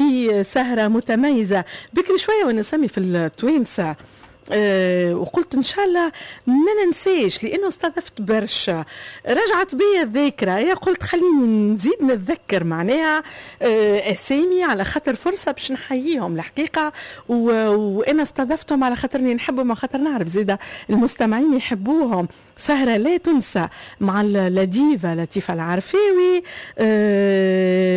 في سهرة متميزة. بكري شوية وانا نسمي في التوانسة وقلت ان شاء الله ما ننساش، لانه استضفت برشا، رجعت بيا الذاكره، يا قلت خليني نزيد نتذكر معناها اسامي على خاطر فرصة باش نحييهم الحقيقه، وانا استضفتهم على خاطرني نحبهم وخاطر نعرف زيدا المستمعين يحبوهم. سهرة لا تنسى مع la diva لطيفة العرفاوي،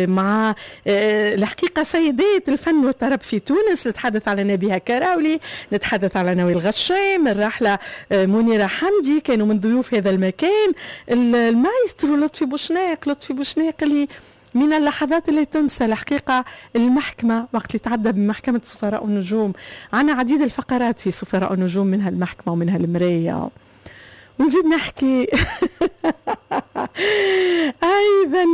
مع الحقيقة سيدات الفن والطرب في تونس. نتحدث على نبيهة كراولي، نتحدث على نوال غشام، الراحلة منيرة حمدي، كانوا من ضيوف هذا المكان. المايسترو لطفي بوشناق، لطفي بوشناق اللي من اللحظات اللي تنسى الحقيقة المحكمة، وقت اللي تعدى بمحكمة سفراء النجوم. عنا عديد الفقرات في سفراء النجوم، منها المحكمة ومنها المراية، ونزيد نحكي أيضا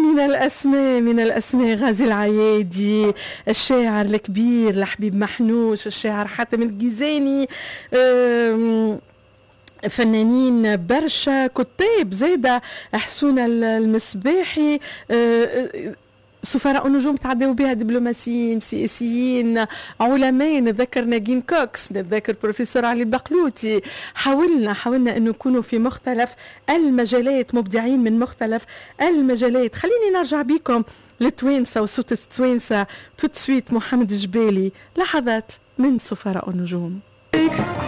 من الأسماء غازي العيادي، الشاعر الكبير الحبيب محنوش، الشاعر حاتم الجيزاني، فنانين برشا، كتاب زادة حسون المصباحي. سفراء النجوم تعدوا بها دبلوماسيين، سياسيين، علماء، نتذكر ناجين كوكس، نتذكر بروفيسور علي البقلوتي. حاولنا أن نكونوا في مختلف المجالات، مبدعين من مختلف المجالات. خليني نرجع بكم للتوانسة وصوت التوانسة tout de suite، محمد الجبالي، لحظات من سفراء النجوم.